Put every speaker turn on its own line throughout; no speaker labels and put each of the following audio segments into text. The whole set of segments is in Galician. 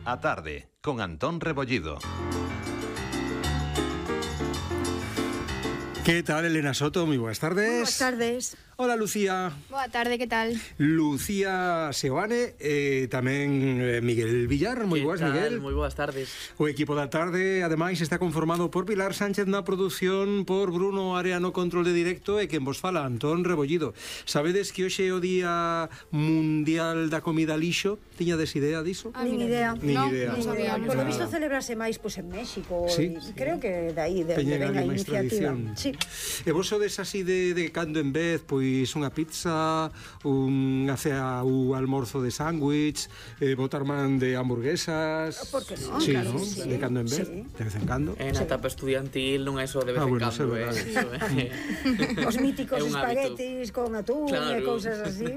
A tarde, con Antón Rebollido.
¿Qué tal, Elena Soto? Muy buenas tardes.
Muy buenas tardes.
Hola, Lucía.
Boa tarde, que tal?
Lucía Seoane, tamén Miguel Villar. Moi boas, Miguel.
Moi boas tardes.
O equipo da tarde, ademais, está conformado por Pilar Sánchez na produción, por Bruno Area no control de directo e quen vos fala, Antón Rebollido. Sabedes que hoxe é o Día Mundial da Comida Lixo? Tiñades idea diso?
Nin idea.
Nin idea.
Non sabía.
Nada.
Por lo visto celebrase máis en México.
Sí,
sí. Creo que de aí de
Teñen
venga a
ali máis
iniciativa.
tradición.
Sí.
E vos sodes así de cando en vez, pois unha pizza, unha cea ou almorzo de sándwich, botar man de hamburguesas.
Por que non?
Sí,
Claro,
¿no?
sí.
De cando en vez,
Sí.
de vez en cando.
En a etapa estudiantil non é só de vez en
bueno,
cando,
é verdade.
Os míticos
É un hábito.
espaguetis con atún e cousas así.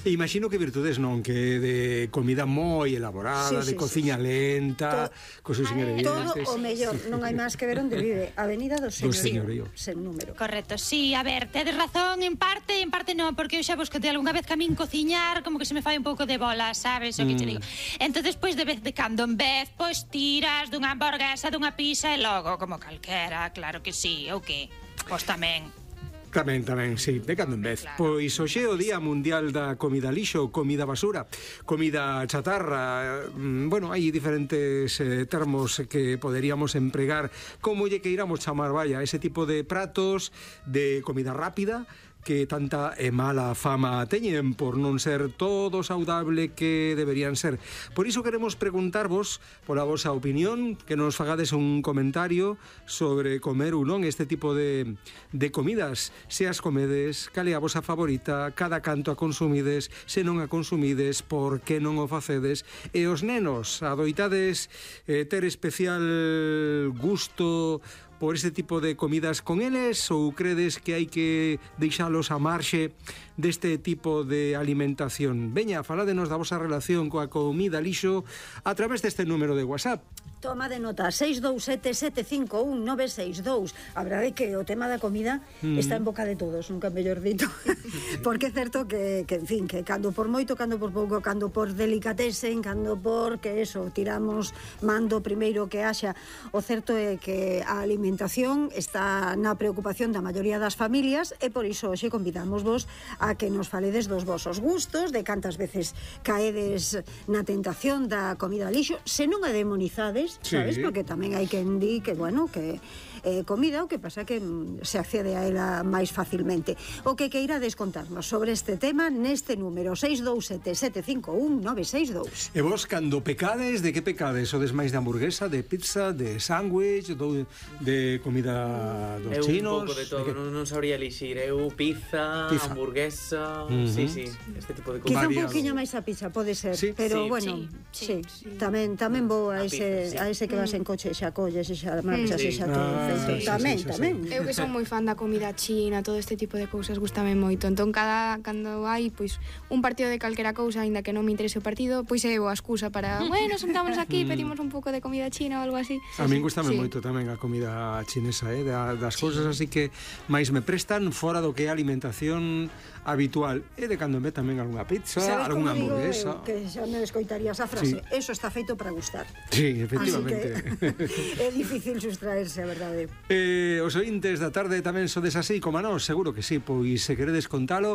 E imagino que virtudes non, que de comida moi elaborada,
Sí,
de
sí,
cociña lenta, cos seus
Todo
ingredientes.
o mellor, non hai máis que ver onde vive. Avenida do
Señorío.
Sen número.
Correcto, sí, a ver, tedes razón en parte non, porque eu xa vos que algunha vez que a min cociñar como que se me fai un pouco de bola, sabes, o que te digo. Entonces, pois, de vez de cando en vez, pois, tiras dunha hamburguesa, dunha pizza e logo, como calquera, claro que sí, ou que? Pois tamén.
Tamén, sí, de cando en vez.
Claro.
Pois hoxe é o Día Mundial da Comida Lixo, comida basura, comida chatarra. Bueno, hai diferentes termos que poderíamos empregar, como lle que iramos chamar, vaya, ese tipo de pratos de comida rápida que tanta e mala fama teñen por non ser todo saudable que deberían ser. Por iso queremos preguntarvos pola vosa opinión, que nos fagades un comentario sobre comer ou non este tipo de comidas. Se as comedes, cal é a vosa favorita, cada canto a consumides, se non a consumides, por que non o facedes? E os nenos, adoitades ter especial gusto por este tipo de comidas con eles, ou credes que hai que deixalos a marxe deste tipo de alimentación? Veña, faládenos da vosa relación coa comida lixo a través deste número de WhatsApp.
Toma de nota, 627-751-962. A verdade é que o tema da comida está en boca de todos, nunca mellor dito. Porque é certo que, en fin, que cando por moito, cando por pouco, cando por delicatesen, cando por que eso, tiramos mando primeiro que haxa. O certo é que a alimentación está na preocupación da maioría das familias e por iso hoxe convidamos vos a que nos faledes dos vosos gustos, de cantas veces caedes na tentación da comida lixo, se non a demonizades, sabes?
Sí.
Porque tamén hai quen di que, bueno, que comida, o que pasa que se accede a ela máis facilmente. O que queira descontarnos sobre este tema neste número 627-751-962.
E vos, cando pecades, de que pecades? Sodes máis de hamburguesa, de pizza, de sándwich, de comida dos chinos?
Un pouco de todo, non sabría elixir. Eu pizza, hamburguesa, sí, este tipo de
Quizá
comidas.
un pouquiño máis a pizza, pode ser,
Sí.
pero
Sí,
bueno, sí. Tamén vou a ese que vas en coche e xa colles e xa marchas e xa todo. Tamén.
Eu que son moi fan da comida china, todo este tipo de cousas gustame moito. Entón cando hai pois un partido de calquera cousa, aínda que non me interese o partido, pois é a excusa para, bueno, sentámonos aquí, pedimos un pouco de comida china ou algo así.
A min gustame moito tamén a comida chinesa, das cousas así que máis me prestan fora do que é a alimentación habitual. E de cando me tamén algunha pizza, algunha hamburguesa.
Que xa me escoitarías a frase, eso está feito para gustar.
Sí, efectivamente.
É difícil sustraerse, a verdade.
Os ointes da tarde tamén sodes así como a nós, seguro que sí, pois se queredes contalo